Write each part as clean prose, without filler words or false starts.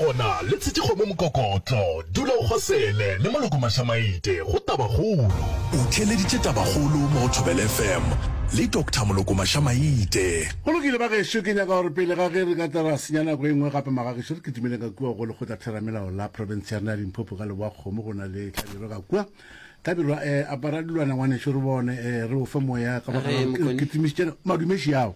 gona le tshetše kgomo mokokotlo. Dula o kgosele le Moloko Mašamaite go Tabakgolo. O theeleditše Tabakgolo mo go Thobela FM le Doctor Moloko Mašamaite. Go lokile bagešo, ke nyaka gore pele ga ge re ka tla ra senya nako e nngwe gape magagešo, re kitimeleng ka kua go lekgotlatheramelao la profense ya rena ya Limpopo ka Leboa-Kgomo go na le Hlabirwa ka kua. Hlabirwa, eh, apara dilwana ngwanešo re bone, eh, re o fe moya ka baka la Re, gore re Mokoni. kitimišitše madumeši ao.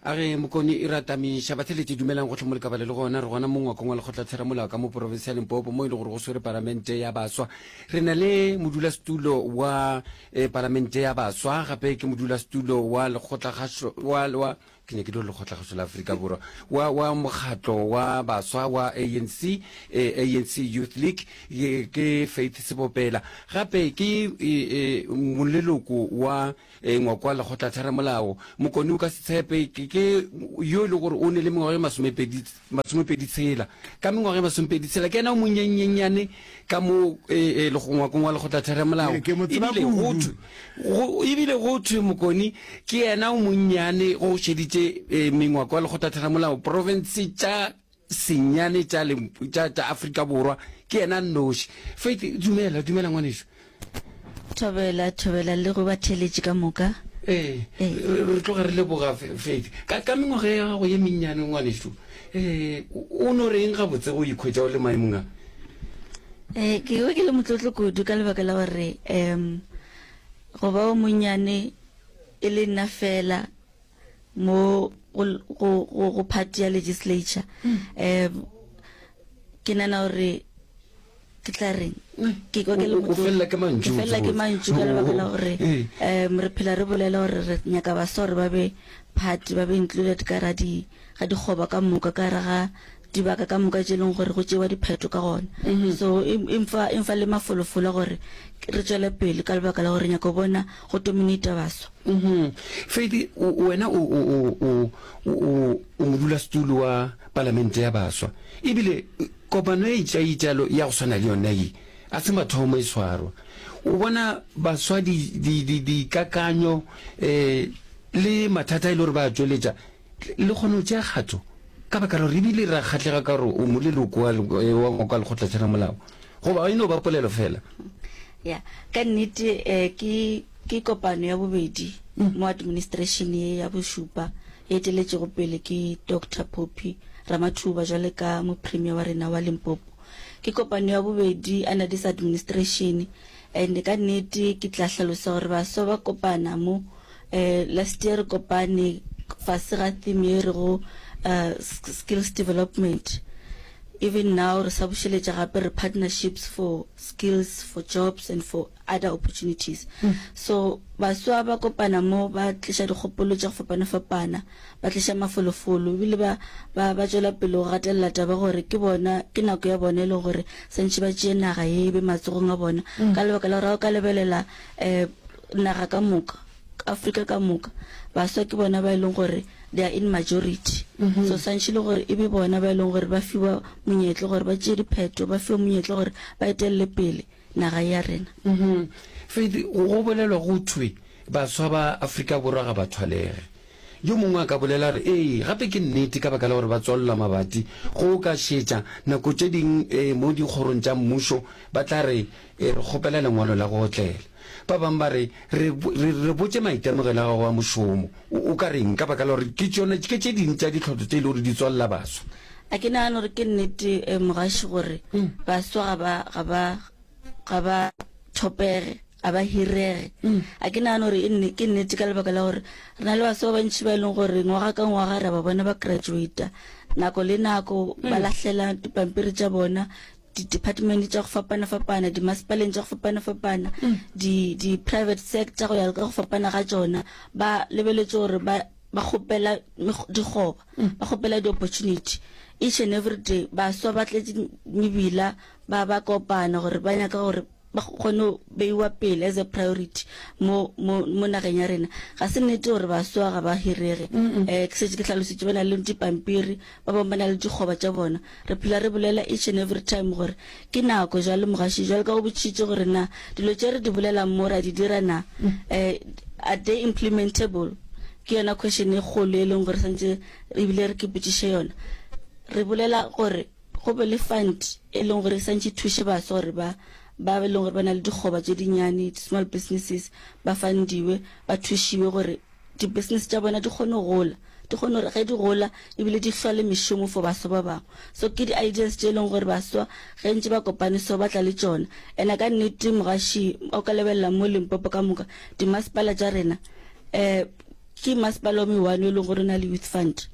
A re, Mokoni e ratamiša. Batheeletši dumelang gohle mo le ka ba le le gona. Re gona mo ngwakong wa Lekgotlatheramolao ka mo porofense ya Limpopo mo e le gore go swere Palamente ya Baswa. Re na le modulasetulo wa eh, Palamente ya Baswa, gape ke modulasetulo wa lekgotlakgašo wa, wa ke nyake dilo lekgotlakgašo la Afrika Borwa wa, wa mokgatlo wa baswa wa ANC, eh, ANC Youth League, ke, ke Faith Sebopela. Gape ke eh, eh, moleloko wa Ee, ngwako wa lekgotlatheramolao, Mokoni o ka se tshepe, ke, ke yo e le gore o ne le mengwaga e masomepedi, masomepedi tshela. Ka mengwaga e masomepedi tshela, ke yena o monnyennyane ka mo e, e, ngwakong wa lekgotlatheramolao. Ee, ke mo tseba Ebile go kudu. thwe, go, ebile go thwe Mokoni ke yena o monnyane go šeditše e, mengwako wa lekgotlatheramolao profense tša senyane tša, tša, tša Afrika Borwa, ke yena a nnoši. Faith, dumela, dumela ngwanešu. Thobela, thobela le go batheeletši ka moka. Ee, re, re tloga re leboga, Faith. Ka, ka mengwaga ya gago ye mennyane, ngwanešu, ee, o no reng gabotse go ikhwetša o le maemong a? Ee, ke ikwa ke le motlotlo kudu ka lebaka la gore, um, go ba o monnyane e le nna fela, mo go, go, go, go party ya legislature um ke nana gore ke tla reng ke kwa ke le O- o motlotlo. felela ke mantšu, Ke felela ke botse. mantšu ka lebaka la gore Ee. um re phela re bolela gore re nyaka baswa gore ba be party ba be included ka ra di ga dikgoba ka moka ka ra ga dibaka ka moka tše e leng gore go tšewa diphetho ka gona. So e, e mfa, e mfa le mafolofolo a gore re tšwele pele ka lebaka la gore re nyaka go bona go dominata baswa. Mhm. Faith, o- wena o, o, o, o, o, o modulasetulo wa palamente ya baswa. Ebile kopano e itšaitšalo ya go swana le yona ye, a se mathomo e swarwa. O bona baswa di, di, di, dikakanyo eh, le mathata e le gore ba a tšweletša Le kgona go tšea kgato ka baka la gore ebile ra kgahlega ka gore o moleloko wa, wa ngwako wa lekgotlatheramolao, goba e no ba polelo fela? Ya, ka nnete eh, ke, ke kopano ya bobedi mo administration ye ya bošupa e eteletšego pele ke Doctor Phophi Ramathuba jwale ka mopremier wa rena wa Limpopo. Ke kopano ya bobedi under this administration and ka nnete ke tla hlalosa gore baswa ba kopana mo Eh, last year re kopane fase ga theme ye rego uh, skills development. Even now re sa bušeletša gape re partnerships for skills, for jobs and for other opportunities. Mm. So baswa ba kopana mo ba tliša dikgopolo tša go fapana-fapana, ba tliša mafolofolo ebile ba ba ba tšwela pele go gatelela taba gore ke bona ke nako ya bona e leng gore santše ba tšee naga ye e be matsogong a bona mm. ka lebaka la gore ga o ka lebelela um naga ka moka, Afrika ka moka, baswa ke bona ba e leng gore they are in majority. Mm -hmm. So swantšhe le gore e be bona ba e leng gore ba fiwa monyetla gore ba tšee diphetho, ba fiwa monyetla gore ba etelele pele naga ya rena. Mm -hmm. Faith, go bolelwa go thwe baswa ba Afrika Borwa ga ba thwalege. Yo mongwe a ka bolela re, Ee, gape ke nnete ka baka la gore ba tswalela mabati. Go o ka šetša, nako tše ding e, mo dikgorong tša mmušo ba tla re, E, re kgopela lengwalo la go otlela. Ba bangwe ba re, Re, re, re botše maitemogelo a gago a mošomo. O, o ka reng? Ka baka la gore ke tšona, ke tše ding tša ditlhotlo tše e le gore di tswalela baswa. A ke nagane gore ke nnete, eh, mogaši, gore baswa ga ba, ga ba, ga ba thopege, ga ba hirege. A ke nagane gore e nne, ke nnete ka lebaka la gore re na le baswa ba bantši ba e leng gore ngwaga ka ngwaga re a ba bona ba graduata, nako le nako ba lahlela dipampiri tša bona di-department tša go fapana-fapana, dimasepaleng tša go fapana-fapana, di, di-private sector go ya ka go fapana ga tšona, ba lebeletše gore ba, ba kgopela dikgoba, ba kgopela di-opportunity. Each and every day, baswa ba tletše mebila, ba, ba kopana gore ba nyaka gore ba kgone go beiwa pele as a priority mo, mo, mo nageng ya rena. Ga se nnete gore baswa ga ba hirege. Um ke šetše ke hlalositše, ba na le dipampiri, ba bangwe ba na le dikgoba tša bona. Re phela re bolela each and every time gore ke nako jwale mogaši, jwale ka go botšišitše gore na dilo tše re di bolelang mo ra di dira na, um are they implementable? Ke yona question e kgolo e leng gore santše ebile re ke botšiše yona. Re bolela gore. go be le fund e leng gore e santše e thuše baswa gore ba ba e leng gore ba na le dikgoba tše dinnyane, di-small businesses, ba fundiwe, ba thušiwe gore di-business tša bona di kgone go gola, di kgone gore ge di gola ebile di hlole mešomo for baswa ba bangwe. So ke di-ideas tše e leng gore baswa ge ntše ba kopane so ba tla le tšona. And-e ka nnete mogaši o ka lebelela mo Limpopo ka moka dimasepala tša rena um ke masepala o me-one o e leng gore o na le youth fund.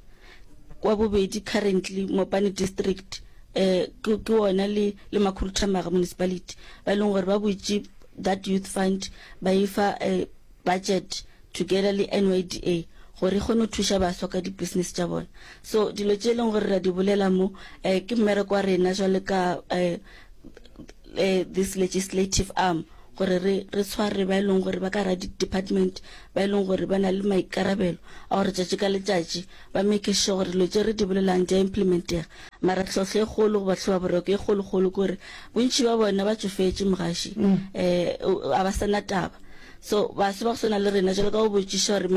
Wa bobedi currently Mopani district um ke ke wona le le Makhuduthamaga municipality ba e leng gore ba butše that youth fund ba e fa um budget together le NYDA gore e kgone go thuša baswa ka di-business tša bona. So dilo tše e leng gore ra di bolela mo um ke mmereko wa rena jwale ka um this legislative arm gore re re tshware ba e leng gore ba ka ra di-department ba e leng gore ba na le maikarabelo a gore tšatši ka letšatši ba make sure gore dilo tše re di bolelang di a implementega. Mara tlhohlo e kgolo goba tlhobaboroko e kgolokgolo ke gore bontši ba bona ba tšofetše mogaši um a ba sa na taba. So baswa ba go swana le rena jalo ka go botšiša gore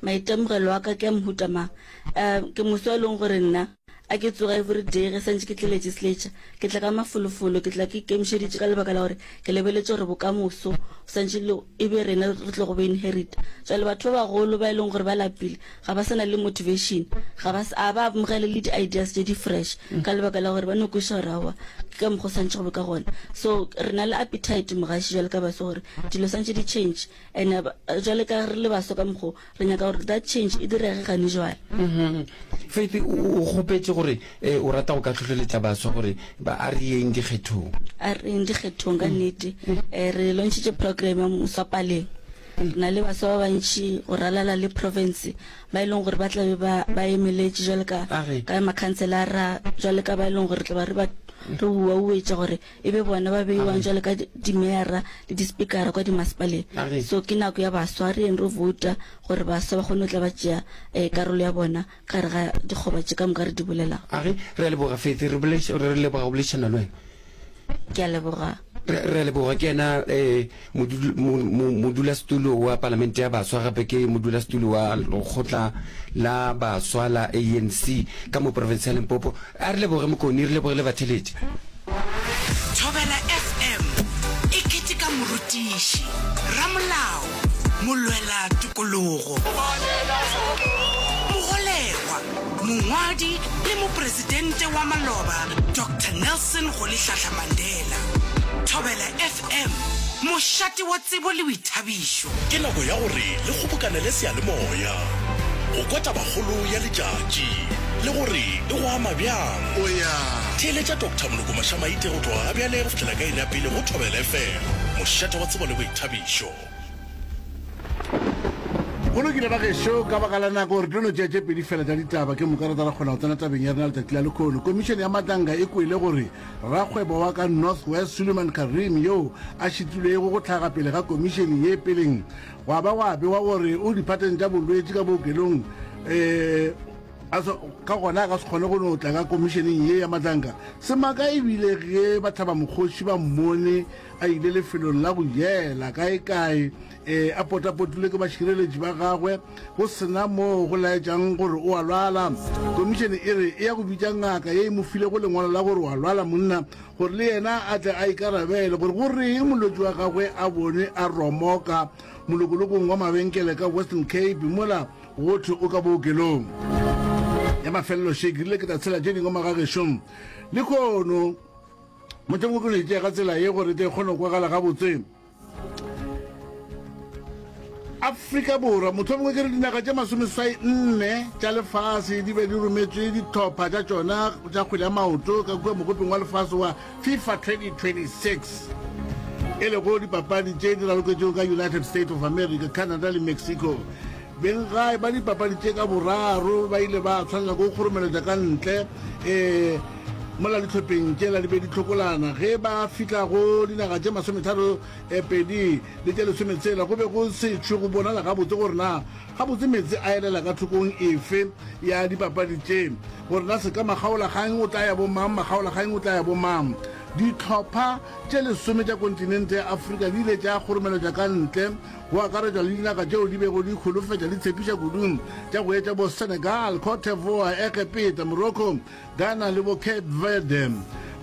maitemogelo a ka ke a mohuta mang, um ke moswa e leng gore nna a ke tsoga every day ge santše ke tle legislature ke tla ka mafolofolo, ke tla ke ikemišeditše ka lebaka la gore ke lebeletše gore bokamoso santše le e be rena re tlo go bo inherita. Jwale batho ba bagolo ba e leng gore ba lapile ga ba sa na le motivation, ga ba a ba amogele le di-ideas tše di fresh ka lebaka la gore ba no kweša gore aowa ke ka mokgwa o swantše go be ka gona. So re na le appetite mogaši jwale ka baswa gore dilo swantše di change and jwale ka re le baswa ka mokgwa o re nyaka gore that change e direge gane jwale. Faith o kgopetše gore o rata go ka hlohleletša baswa gore ba a re yeng dikgethong. A re yeng dikgethong ka nnete. Re launchitše program ya Moswa Paleng. Re na le baswa ba bantši go ralala le province ba e leng gore ba tla be ba ba emeletše jwale ka ka makhanselara jwale ka ba e leng gore tla ba re ba re uauetša gore e be bona ba beiwang jwale ka dimeyara le dispikara kwa dimasepaleng. So ke nako ya baswa, re yeng re vouta gore baswa ba kgone go tla ba tšea um karolo ya bona ka gare ga dikgoba tše ka moka re di bolelago. Re a leboga Faith, re leboga go boledišana le wena. Ke a leboga. Re a leboga. Ke yena um modulasetulo wa Palamente ya Baswa, gape ke modulasetulo wa lekgotla la baswa la ANC ka mo profense ya Limpopo. A re leboge Mokoni, re leboge le batheletši. Thobela FM e keteka morutiši, ramolao, molwela tokologo, mogolegwa, Mongwadi le Mopresidente wa maloba Doctor Nelson Rolihlahla Mandela. Thobela FM, mošate wa tsebo le boithabišo. Ke nako ya gore le kgobokanele seyalemoya go kwa tabakgolo ya letšatši le gore e go ama bjang. Theeletša Doctor Moloko Mashamaite go tloga gabjale go fihlela ka iri ya pele go Thobela FM, mošate wa tsebo le boithabišo. Go lokile ba gešo, ka baka la nako re tlo no tšea tše pedi fela tša ditaba ke moka re tla ra kgona go tsena tabeng ya rena letšatši la lekhono. Komišene ya Matlanga e kwele gore rakgwebo wa ka North West Suleiman Karim yoo a šitilwego go hlaga pele ga komišene ye peleng gwa ba gwa bewa gore o diphateng tša bolwetši ka bookelong um ka gona a ka se kgone go no tla ka komišeneng ye ya Matlanka. Semaka e bile ge bahlabamokgoši ba mmone a ile lefelong la go jela kaekae e a potapotilwe ke bašireletši ba gagwe go sena moo go laetšang gore o a lwala. Komišene e re e ya go bitša ngaka ye e mo filego lengwalo la gore o a lwala monna gore le yena a tle a ikarabele gore go reng molwetši wa gagwe a bonwe a romoka molokolokong wa mabenkele ka Western Cape mola go thwe o ka bookelong. Ya mafelelo še ke rile ke tla tshela tše dingwe magagešong lehono. Mohlomongwe ke no e tšea ka tsela ye gore e tle e kgone go kwagala gabotse. Afrika Borwa, mohlomongwe ke re dinaga tše masomeswai nne tša lefase di be di rometšwe dihlopha tša tšona tša kgwele ya maoto ka kua mogopeng wa lefase wa FIFA 2026 e lego dipapadi tše di raloketšego ka United States of America, Canada le Mexico. Benggae ba dipapadi tše ka boraro ba ile ba tshwanela ke go kgoromeletša ka ntle um mola dihlopheng tšela di be di hlokolana. Ge ba fihla go dinaga tše masometharo pedi le tše lesometshela go be go se tšhwe go bonala gabotse gore na gabotse meetse a elela ka thokong efe ya dipapadi tše, gore na seka makgaolakgang o tla ya bomang, makgaolakgang o tla ya bomang. Dihlopha tše lesome tša kontinente ya Afrika di ile tša kgoromeletšwa ka ntle, go akaretšwa le dinaga tšeo di bego di holofetša di tshepiša kudu tša go etša bo Senegal, Cote d'Ivoire, Egepeta, Morocco, Ghana le bo Cape Verde.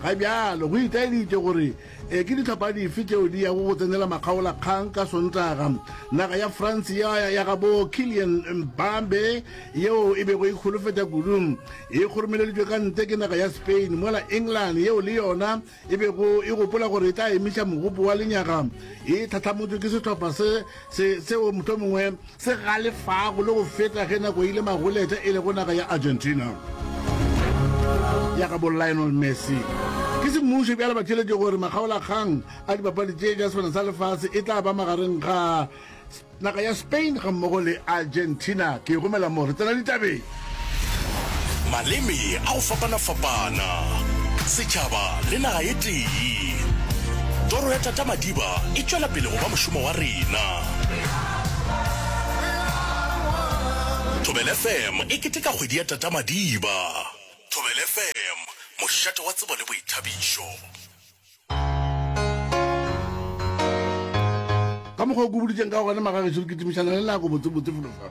Ga bjalo go itaeditše gore e ke dihlopha dife tšeo di yago go tsenela makgaolakgang ka Sontaga. Naga ya France ya ya gabo Kylian Mbappe yeo e bego e holofetša kudu e kgoromeleditšwe ka ntle ke naga ya Spain, mola England yeo le yona e bego e gopola gore e tla emiša mogopo wa lenyaga e tlhatlhamotšwe ke sehlopha se se seo mohlomongwe se galefago le go feta ge nako e ile magoletša e lego naga ya Argentina ya gabo Lionel Messi. Ke semmušo bjale ba theeletše gore makgaolakgang a dipapadi tše tša Sefana sa Lefase e tla ba magareng ga Naga ya Spain gammogo le Argentina. Ke e romela mo re tsena ditabeng. Maleme a go fapana-fapana, setšhaba le naga e tee. Toro ya Tata Madiba e tšwela pele go ba mošomo wa rena. Thobela FM e keteka kgwedi ya Tata Madiba. Thobela FM, mošate wa tsebo le boithabišo. Ka mokgwa o ke boditšeng ka gona magagešo, re kitimišana le nako botsebotse felo fa.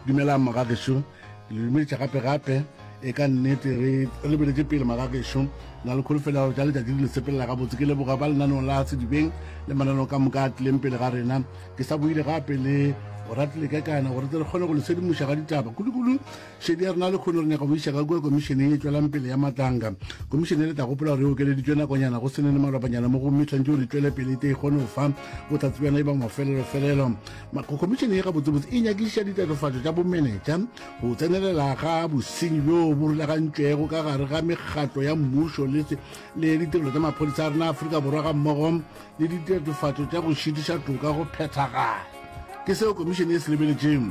Dumelang magagešo, ke le dumediša gape gape. E ka nnete re lebeletše pele magagešo, na le kholofelo ya gore tša letšatši di le sepelela gabotse. Ke leboga ba lenaneo la Sedibeng le mananeo ka moka a tlileng pele ga rena. Ke sa boile gape le Oratile Kekana gore tle re kgone go le sedimoša ga ditaba kudu-kudu. Šedi ya rena lehono re nyaka go iša ka kua komišeneng e tšwelang pele ya Matlanga. Komišene e le tla gopola gore e okeleditšwe nakonyana go se nene malobanyana mo gomme tshwanetše gore e tšwele pele e te e kgone go fa bohlatse bjona e ba mafelelofelelo. Komišene ye gabotsebotse e nyakišiša ditatofatšo tša bomenetša, go tsenelela ga bosenyi bjo bo rulagantšwego ka gare ga mekgatlo ya mmušo le le ditirelo tša maphodisa a rena Afrika Borwa gammogo le ditatofatšo tša go šitiša toka go phethagala. Ke seo komišene e se lebeletšeng.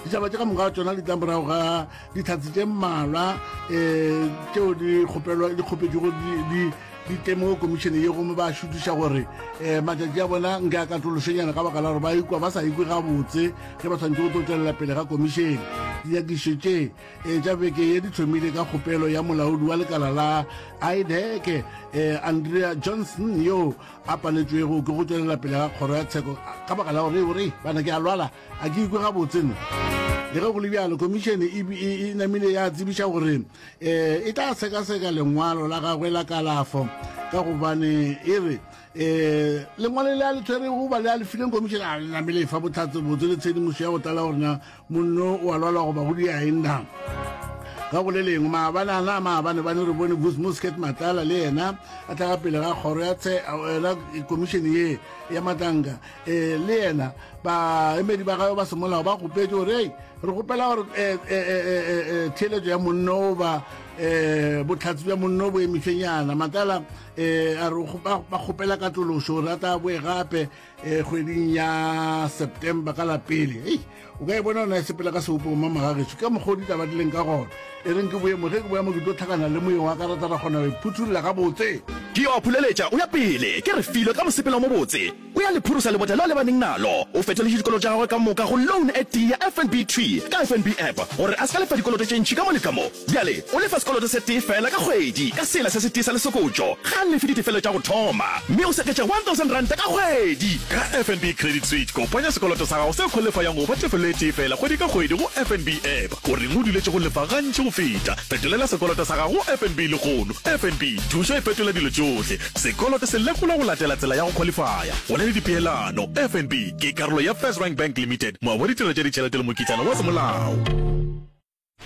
Ditaba tše ka moka ga tšona di tla morago ga dihlatse tše mmalwa um tšeo di kgopelwa di kgopetšego di di temogo komišene ye gomme ba šutiša gore um matšatši a bona nke a katološenyana ka baka la gore ba ikwa ba sa ikwe gabotse ge ba tshwanetse go tlo tšwelela pele ga komišene. Dinyakišišo tše um tša beke ye di thomile ka kgopelo ya molaodi wa lekala la IDEC um Andrea Johnson yo a paletšwego ke go tšwelela pele ga kgoro ya tsheko ka baka la gore o re bana ke a lwala a ke ikwe gabotse no. Le ge go le bjalo, komišene e, e, e namile ya tsebiša gore um e tla sekaseka lengwalo la gagwe la kalafo ka gobane e re um lengwalo le a le tshwerego goba le a le fileng komišene a le namile e fa bohlatse botse le tshedimošo ya go tlala gore na Monno o a lwala goba go dia eng na? Ka go le lengwe, maabane ana maabane bane re bone Vusi Muscat Matlala le yena a tla ka pele ga kgoro ya tshe yona komišene ye ya Matlanka e le yena baemedi ba gagwe ba semolao ba kgopetše gore ei re kgopela gore theeletšo ya monno ba bohlatse bja monno bo emišwenyana. Matlala a re ba kgopela katološo gore a tla boe gape e kgweding ya September ka la pele. Hei, o ka e bona ona e sepela ka sebopego ma magagešo ka mokgwa o ditaba di leng ka gona. E reng ke boye mo, ge ke boya mo ke tlo hlakana le moyeng wa ka ra tla ra kgona go e phuthulla gabotse. Ke yo a phuleletša o ya pele, ke Refilwe ka mosepelo o mobotse. O ya le phurusa lebota leo a lebaneng nalo. O fetoletše dikoloto tša gagwe ka moka go loan e tee ya FNB thwi ka FNB app gore a se ka lefa dikoloto tše ntši ka mo le ka mo. Bjale o lefa sekoloto se tee feela ka kgwedi ka sela se setee sa lesokotšo. Ga a lefe ditefelo tša go thoma mme o seketša R1000 ka kgwedi. Ka FNB Credit Switch, kopanya sekoloto sa gago se khwalifayang go ba tefelo e tee feela kgwedi ka kgwedi go FNB App. O reng o duletše go lefa gantši go feta? Fetolela sekoloto sa gago go FNB lehono. FNB, thušo e fetola dilo tšohle. Sekoloto se lekolwa go latela tsela ya go khwalifaya. Go na le dipeelano. FNB ke karolo ya FirstRand Bank Limited, moabi wa ditirelo tša ditšhelete le mokitlana wa semolao.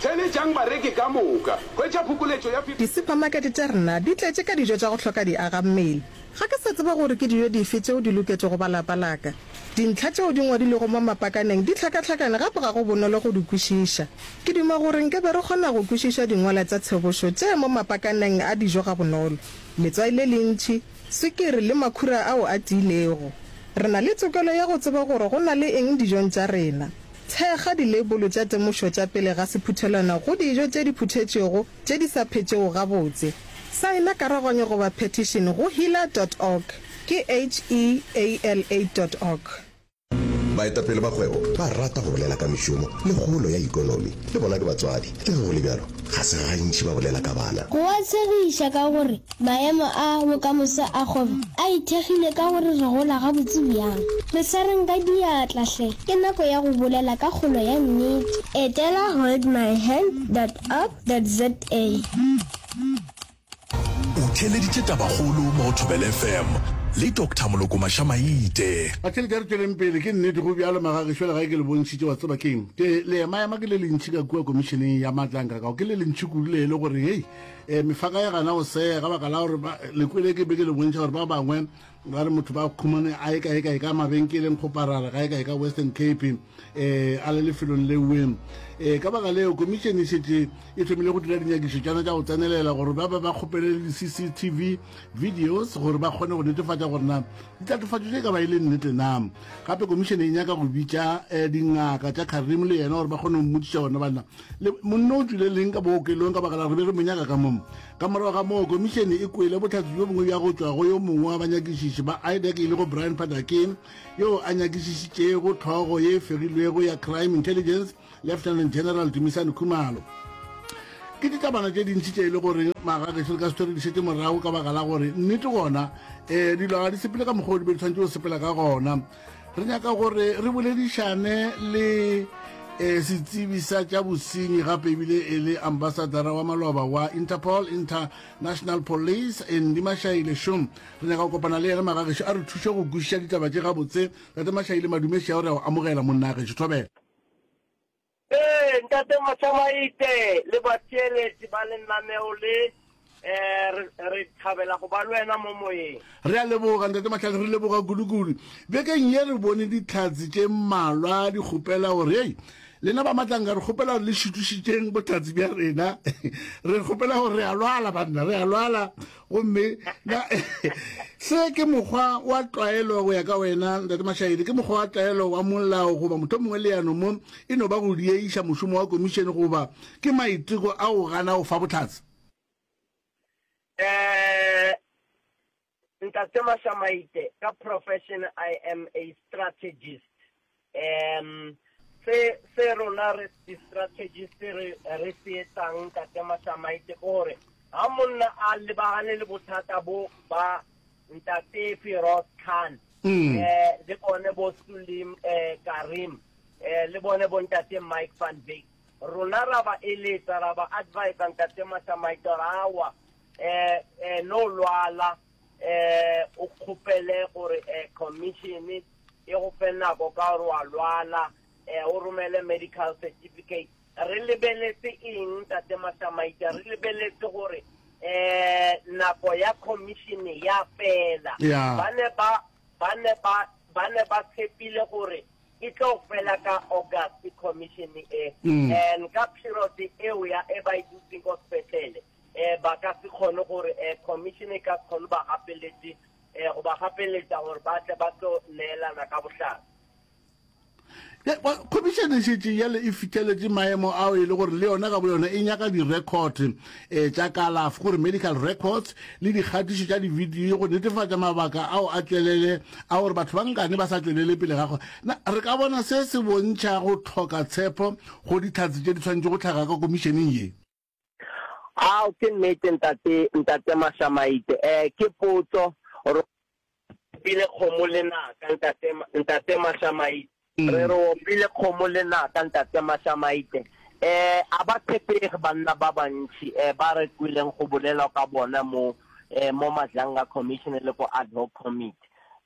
Theeletšang bareki ka moka. Hwetša phokoletšo ya 50. Disuphamakete tša rena di tletše ka dijo tša go hloka diagammele. Ga ke sa tseba gore ke dijo dife tšeo di loketšego ba lapa la ka. Dintlha tšeo di ngwadilwego mo mapakaneng di hlakahlakane gape ga go bonolo go di kwešiša. Ke duma gore nke be re kgona go kwešiša dingwalwa tša tshebošo tše mo mapakaneng a dijo gabonolo. Letswai le lentši, swikiri le makhura ao a tiilego. Re na le tokelo ya go tseba gore go na le eng dijong tša rena. Thekga dileibolo tša temošo tša pele ga sephuthelwana go dijo tše di phuthetšwego tše di sa phetšego gabotse. Saena karoganyo goba petition go heala dot org, ke H-E-A-L-A dot org. Baetapele ba kgwebo ba rata go bolela ka mešomo le kgolo ya ikonomi. Le bona ke batswadi. Le ge go le bjalo, ga se gantši ba bolela ka bana. Go a tshegiša ka gore maemo a bokamoso a kgwebo a ithekgile ka gore re gola gabotse bjang. Re swareng ka diatla hle, ke nako ya go bolela ka kgolo ya nnete. Etela holdmyhand dot org dot za. O theeleditše Tabakgolo mo go Thobela FM le Doctor Moloko Mašamaite. Batheeletši a re tšweleng pele, ke nnete go bjalo magagešo le gae ke le bontšhitše wa tseba keng ke leemaema ke le lentši ka kua komišeneng ya matlanka kao ke le lentši kudu le e le gore hei um mefaka ya gana go sega ka baka la gore le kwele ke be ke le bontšha gore ba bangwe ba re motho ba khumane a ye kae kae ka mabenkeleng kgoparara kae kae ka Western Cape eh a le lefelong lewe eh ka baka leo komišene e šetše e thomile go dira dinyakišo tšana tša go tsenelela gore ba ba ba kgopele di-cctv videos gore ba kgone go netefatša gore na ditatofatšo tše ka ba e le nnete na. Gape komišene e nyaka go bitša eh, dingaka tša Karim le yena gore ba kgone go mmotšiša gona banna le monna o tšwile leng ka bookelong ka baka la re be re mo nyaka ka mo. Ka morago ga moo, komišene e kwele bohlatse bjo bongwe bja go tšwa go yo mongwe wa banyakišiši ba IDAC e lego Brian Padakin, yoo a nyakišišitšego hlogo ye e fegilwego ya Crime Intelligence, Lieutenant General Dumisani Khumalo. Ke ditabana tše dintši tše e le gore magagešo re ka se hlwe re di šetše morago ka baka la gore nnete gona um dilo ga di sepele ka mokgwa o di be di tshwanetše go sepela ka gona. Re nyaka gore re boledišane le eh, setsebi sa tša bosenyi gape ebile e le ambasadara wa maloba wa Interpol, International Police, Andy Mashaile Shum. Re nyaka go kopana le yena magagešo a re thuše go kwešiša ditaba tše gabotse. Tate Mashaile Madume šea re a go amogela monna gešo. Thobela. Ee, Ntate Mashamaite le batheeletši ba lenaneo le, eh, re, re thabela go ba le wena mo moyeng. Re a leboga, Ntate Mahlale, re leboga kudu-kudu. Bekeng ye re bone dihlatse tše mmalwa di kgopela gore, Hei, lena ba Matlanka, re kgopela gore le šutišitšeng bohlatse bja rena. Re kgopela gore re a lwala, banna, re a lwala. Gomme na se ke mokgwa wa tlwaelo go ya ka wena, Ntate Mashaile? Ke mokgwa wa tlwaelo wa molao goba mohlomongwe leano mo e no ba go dieiša mošomo wa komišene goba ke maiteko a go gana go fa bohlatse? Eh, Ntate Mashamaite, ka profession I am a strategist. Um, se se rona re di-strategist re re se etsang Ntate Mashamaite ke gore ha monna a lebagane le bothata bo ba Ntate Firoz Khan mm. eh le bone bo Sulim eh Karim eh le bone bo Ntate Mike van Wyk rona ra ba eletsa ra ba advise Ntate Mashamaite gore awa eh eh no lwala eh o kgopele gore eh commission e go fe nako ka gore wa lwala eh o romele medical certificate. Re lebeletse eng Ntate Mashamaita? Re lebeletse gore eh nako ya commission ya fela. Yeah. Ba ne ba ba ne ba ba ne ba tshepile gore e tlo fela ka August commission e. Mm. And ka period eo ya e ba e dutseng ko sepetlele eh ba ka se kgone gore eh commission e ka se kgone ba gapeletse eh go ba gapeletsa gore ba tle ba tlo neelana ka bohlatse. Khomišene e šetše bjale e fihleletše maemo ao e le gore le yona ka boyona e nyaka direkhote um tša kalafo, gore medical records, le dikgatišo tša dibidio go netefatša mabaka ao a tšwelele a gore batho ba nkane ba sa tšwelele pele ga Na re ka bona se se bontšha go hloka tshepo go dihlatse tše di swanetše go hlaga ka komišeneng ye? Ao, ke nnete, ntate, ntate Mashamaite. Eh, ke potso. Re opile kgomo lenaka, ntate, ntate Mashamaite. Re re opile kgomo lenaka, ntate Mashamaite. Eh, a ba tshepege banna ba bantši, eh, ba re kweleng go bolelwa ka bona mo, eh, mo Madlanga Commission le ko Ad Hoc Committee.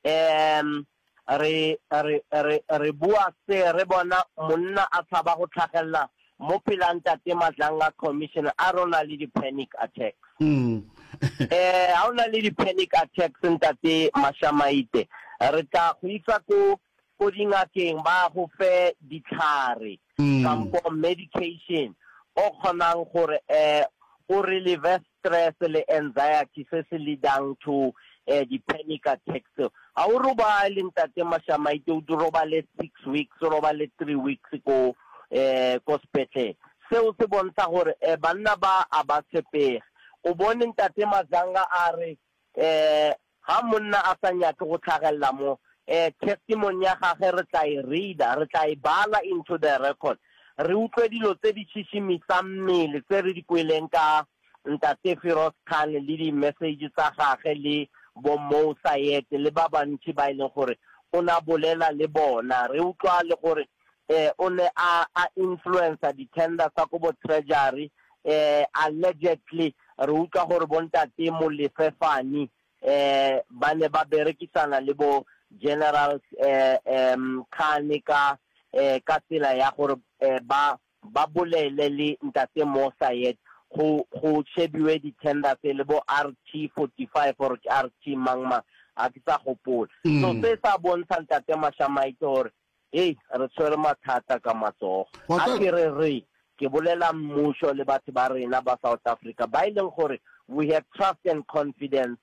Um, Re, re, re, re bua se re bona monna a tshaba go tlhagelela mo pela Ntate Madlanga Commission a re o na le di-panic attacks. Eh, ha o na le di-panic attacks Ntate Mashamaite, re tla go isa ko, ko dingakeng ba go fe ditlhare kampo medication o kgonang gore eh o relieve stress le anxiety se se leadang to eh, di-panic attacks tseo. Ga o robale Ntate Mashamaite, o di robale six weeks, o robale three weeks ko eh, ko sepetlele. Seo se bontsha gore eh, banna ba a ba tshepege. O bone Ntate Mazanga a re eh, ga monna a sa nyake go tlhagelela mo. Eh, testimony ya gage re tla e reader, re tla e bala into the record. Re utlwe dilo tse di šišimisang mmele tse re di kweleng ka Ntate Firoz Khan le di-message tsa gage le bo Mo Sayed le ba bantši ba e leng gore o ne a bolela le bona. Re utlwa le gore eh, o ne a, a influencer di-tender tsa ko bo Treasury, eh, allegedly re utlwa gore bo Ntate Molefe Fani eh ba ne ba berekisana le bo General eh um Khan ka eh ka tsela ya gore eh ba ba bolele le Ntate Mo Sayed go go shebiwe di-tender tse le bo RT 45 or ke RT mang mang a ke sa gopola. So se sa bontsha Ntate Mashamaite gore Hei, re tshwere mathata ka matsogo. A ke re re, ke bolela mmušo le batho ba rena ba South Africa ba e leng gore we have trust and confidence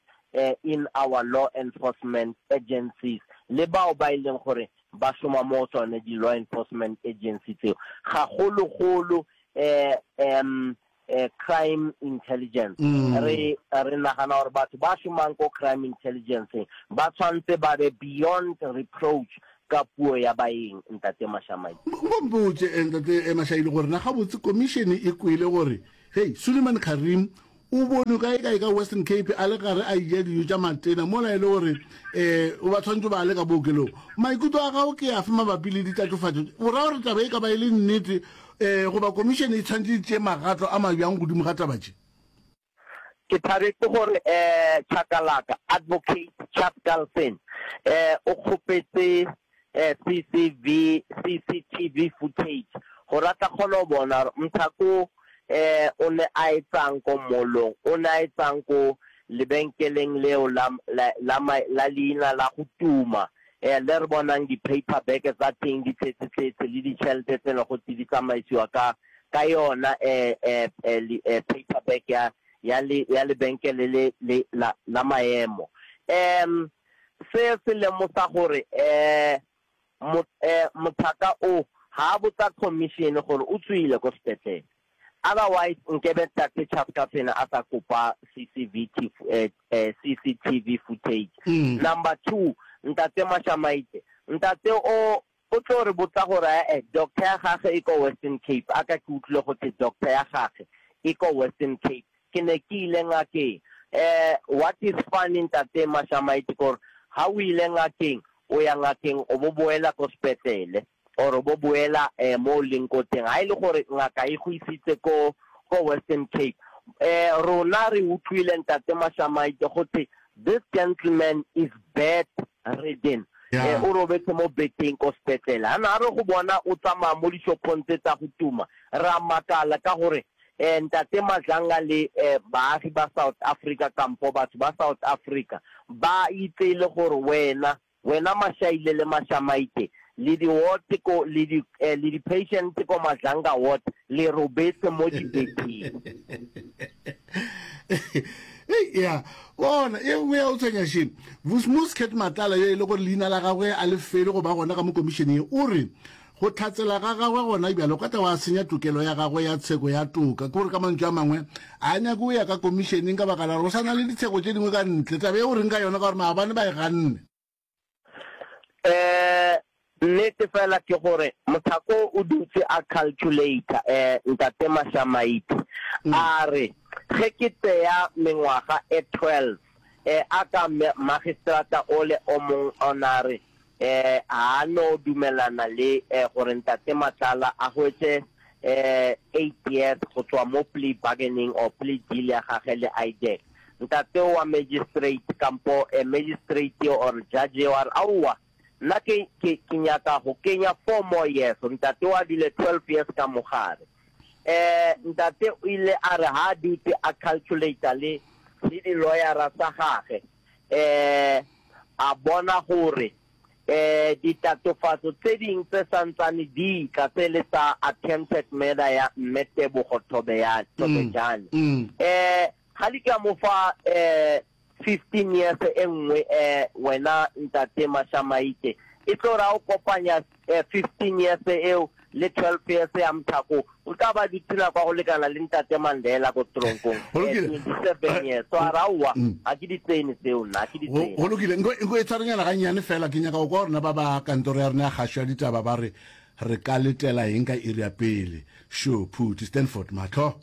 in our law enforcement agencies le bao ba e leng gore ba šoma mo tsone di-law enforcement agency tseo, gagologolo um crime intelligence. Re re nagana gore batho ba šomang ko crime intelligence ba tshwanetse ba be beyond reproach ka puo ya baeng, Ntate Mashamai. Nko mpotše, Ntate Mashaile, gore na gabotse komišene e kwele gore hei Suleiman Karim o bonwe kae kae ka Western Cape a le gare a eja dijo tša matena mola e le gore um o ba tshwanetse ba le ka bookelong. Maikutlo a gago ke afe mabapi le ditatofatšo tše? O ra gore taba e ka ba e le nnete um goba komišene e tshwanetse e tšee magato a mabjang godimo ga taba tše? Ke thabetše gore um Chakalaka, Advocate Chaskalson, um o kgopetše um CCV, CCTV footage gore a tla kgona go bona gore Mthako um o ne a etsang ko mall-ong, o ne a etsang ko lebenkeleng leo la, la, la, la leina la go tuma um le re bonang di-paper bag tsa teng di tletse-tletse le ditšhelete tse ne go tse di tsamaisiwa ka, ka yona um um um paper bag ya, ya le, ya lebenkele le, le la, la maemo. Um se se lemosa gore um mo, um mothaka o ga a botsa commission gore o tswile ko sepetlele. Otherwise nkebe Ntate Chaskafene a sa kopa CCVT, CCTV footage. Number 2, Ntate Mashamaite, ntate o o tlo re botsa gore eh doctor ya gage e ko Western Cape, a ka ke utlwile go thwe doctor ya gage e ko Western Cape, ke ne ke ile ngakeng. Eh what is funny Ntate Mashamaite ke gore ha o ile ngakeng, o ya ngakeng o bo boela ko sepetlele. Or bo boela mo o leng ko teng ha e le gore ngaka e go isitse ko ko Western Cape. Rona re utlwile Ntate Mashamaite go thwe this gentleman is bed ridden. O robetse mo beteng ko sepetlele. Ha na re go bona o tsamaya mo dishopong tse tsa go tuma, re a makala ka gore Ntate Madlanga le baagi ba South Africa kampo batho ba South Africa ba itse e le gore wena Wena Mashaile le Mashamaite, le di ward ko, le di, eh, le di patient ko Madlanga ward, le robetse mo dibetheng. Hei, ya, bona, ye nngwe ya go tshwenya še. Vusmus Cat Matlala, yo e le gore leina la gagwe a le fele go ba gona ka mo komišeneng ye, o re go hlatsela ga gagwe gona bjalo ka tla wa senya tokelo ya gagwe ya tsheko ya toka. Ke gore ka mantšu a mangwe, a nyake go ya ka komišeneng ka baka la gore go sa na le ditsheko tše dingwe ka ntle. Taba ye o reng ka yona ka gore maabane ba e ganne? Um nnete fela ke gore Mothako o dutse a calculator um Ntate Mashamaite a re ge ke tseya mengwaga e 12 um a ka magistrata ole o mong o na re um ga a no dumelana le um gore Ntate Matlala a hwetše um 8 years go tswa mo plea bargaining or plea deal ya gage le IDAC. Ntate wa magistrate kampo eh, magistrate or judge eo a re aowa nna ke, ke, ke nyaka go kenya four more years. Ntate o a dule 12 years ka mogare. Eh, ntate o ile a re ha a dutse a calculator le, le di-lawyera tsa gage eh, a bona gore eh, ditatofatso tse ding tse santsane di tla tse le tsa attempted murder ya Mme Tebogo Thobejane, Thobejane. Eh, ga di ka mo fa eh, 15 years e nngwe eh, wena Ntate Mashamaite, e tlo ra o kopanya eh, 15 years eo le 12 years ya Mthako o tla ba dutse nako ya go lekana le ntate Mandela ko tronkong Go lokile. 27 years. So a re aowa ga ke di tsene tseo nna, ga ke di Go tsene. go lokile nko nko e tshwarenyana gannyane fela ke nyaka go kwa gore na ba ba kantoro ya rena ya kgašo ya ditaba ba re re ka letela eng ka iri ya pele. Sho Phuti Stanford mahlo.